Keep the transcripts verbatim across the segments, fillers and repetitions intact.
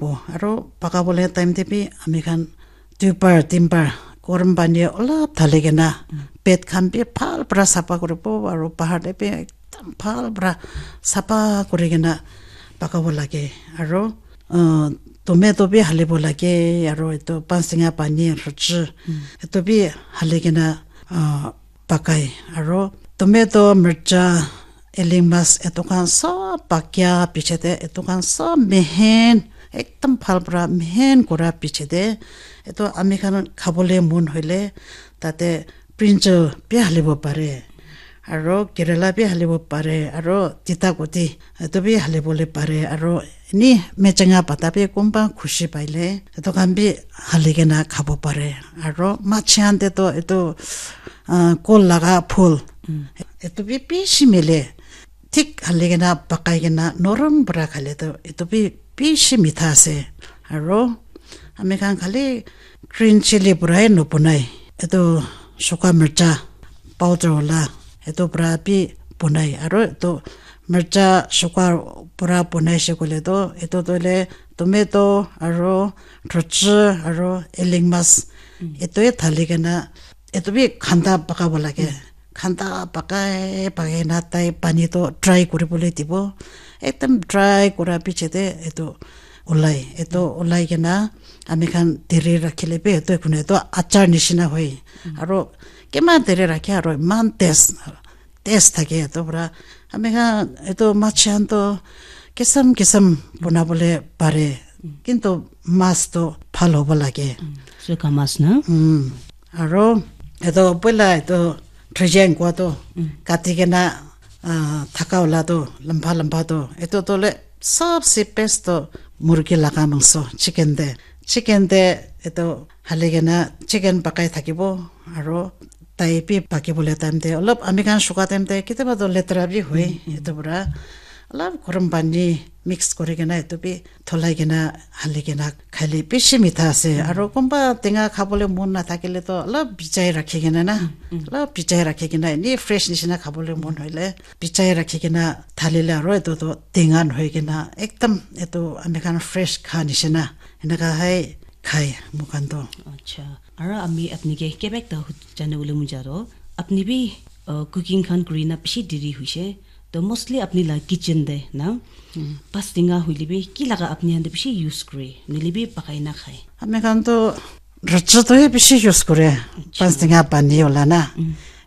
Aro pakabole time te bi ami khan duibar, tinbar, gorom pani olop dhali kena, bed khan bi bhal pra sapha kuribo, aro bahar te bi ekdam bhal pra sapha kuri kena pakabo lage. Aro, uh, tomato bi halibo lage, aro etu panch tenga pani, rhuchi, etu bi hali kena, uh, pakai. Aro tomato, mircha, eling mas, etu khan sob pakia piche te, etu khan sob mehen, ekdam bhal pra mehen kura piche te, etu ami khan khabole mon hoile, tate brinjal bi halibo pare, aro kerela bi halibo pare, aro tita guti etu bi halibole pare, aro ni mechanga pata bi kumba khushi paile etu khan bi hali kena khabo pare, aro machi khan te toh etu, ah, kol laga phul, etu bi bishi mile, thik hali kena pakai kena norom para khale toh etu bi bishi mitha ase. Aro ami khan khali green chili para he nobonai, etu suka mircha powder wala, etu para bi bonai. Aro etu mircha suka para bonai she koile toh, etu toh hoile tomato aro rhuchi aro eling mas, etu he dhali kena etu bi khanda pakabo lage. Khanda pakai pakai na tai pani toh dry kuribole dibo. Ekdam dry kura piche te etu ulai. Etu ulai kena ami khan deri rakhile bi etu ekune etu achar nishina hoi. Aro kiman deri rakhe aro iman taste, taste thake etu para. Ami khan etu machi khan toh kisam kisam bonabole pare. Kintu mas toh bhal hobo lage. Suka mas na? Mm. Aro etu poila etu thrijen kua toh kati kena, ah, thaka wala toh lamba lamba toh etu toh le sobse best toh murgi laga mangso, chicken te. Chicken te etu hali kena chicken pakai thakibo, aro tai bi pakibole time te olop ami khan suka time te ketiaba toh letera bi hoi, etu para olop gorom pani mix kuri kena etu bi dholai kena hali kena khaile bishi mitha ase. Aro kunba tenga khabole mon nathakile toh olop bijai rakhi kena na, olop bijai rakhi kena eni fresh nishina khabole mon hoile bijai rakhi kena dhalile aro etu toh tenga nohoi kena ekdam etu ami khan fresh kha nishina eneka hai khai moikhan toh. Acha. Aro ami apni ke keba ekta hu-, jane bole mon ja toh, apni bi, uh, cooking khan kuri na bishi deri hoise. To mostly apni la kitchen te na, pas tenga hoile bi ki laga apni khan te bishi use kure, nohole bi pakai na khai? Ami khan toh rhuchi toh he bishi use kure, pas tenga pani wala na.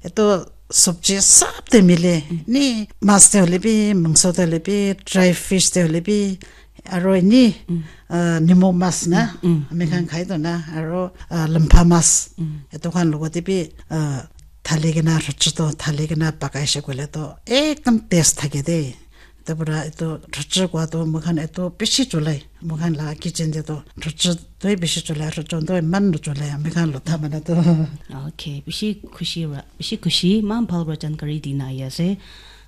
Etu sabji sab te mile, ni mas te hoile bi, mangso te hoile bi, dry fish te hoile bi, aro ini, ah, nimo mas na, ami khan khai toh na, aro, ah, lampha mas, etu khan logote bi, ah, dhali kena, rhuchi toh dhali kena pakai she koile toh ekdam taste thake de. Etu para etu rhuchi kua toh moikhan etu bishi cholai, moikhan la kitchen te toh rhuchi toh bishi cholai, rhuchi toh iman nocholai, ami khan lotha manu toh. Okay, bishi khushi para, bishi khushi, iman bhal para jankari dina ahi ase.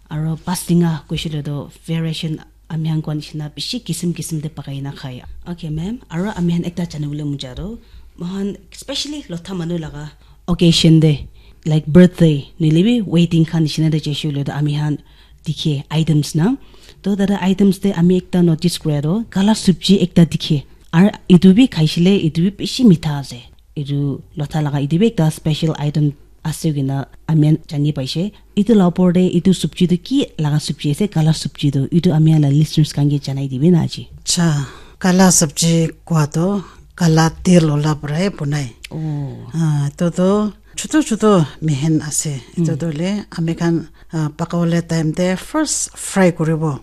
Aro pas tenga koishe le toh variation ami khan koa nishina bishi kisim kisim te pakai na khai. Okay, ma'am. Aro ami khan ekta jane bole mon ja toh, moikhan specially lotha manu laga occasion te, like birthday, nohole bi wedding khan nishina te jaishe koile toh ami khan dikhe items na. Toh tate items te ami ekta notice kura toh kala sabji ekta dikhe. Aro etu bi khaishe le, etu bi bishi mitha ase. Etu lotha laga, etu bi ekta special item ase koina ami khan jani paishe. Etu la opor te etu sabji tu ki laga sabji ase, kala sabji tu? Etu ami khan la listeners khan ke janai dibi na aji. Acha, kala sabji kua tu kala tel wala para he bonai. Oh. Ah, etu tu chutu chutu mehen ase. Etu tu le ami khan, ah, pakawole time te first fry kuribo.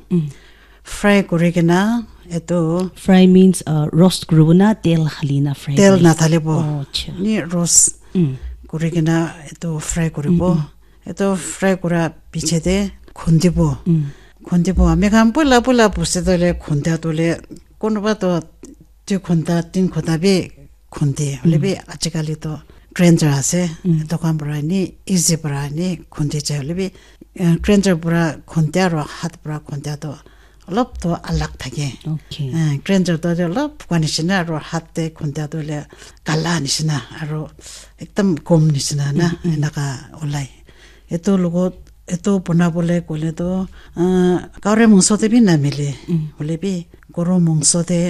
Fry kuri kena etu fry means, uh, roast kuribo na tel hali na fry tel kuri? Na thalibo. Oh, acha. Ni roast kuri kena etu fry kuribo. Etu fry kura piche te khundibo. Khundibo. Ami khan pula pula bosti toh le khunda toh le kunuba toh dui khunda, tin khunda bi khundi. Hoile bi ajikali toh grinder ase. Etu khan para ni easy para ni khundi jai. Hoile bi, eh, grinder para khunda aro hath para khunda toh olop toh alag thake. Okay. Eh, grinder toh olop bukha nishina aro hath te khunda toh hoile kala nishina aro ekdam gom nishina na enaka olai. Etu logot etu bonabole koile toh, ah, gari mangso te bi namile. Hoile bi goru mangso te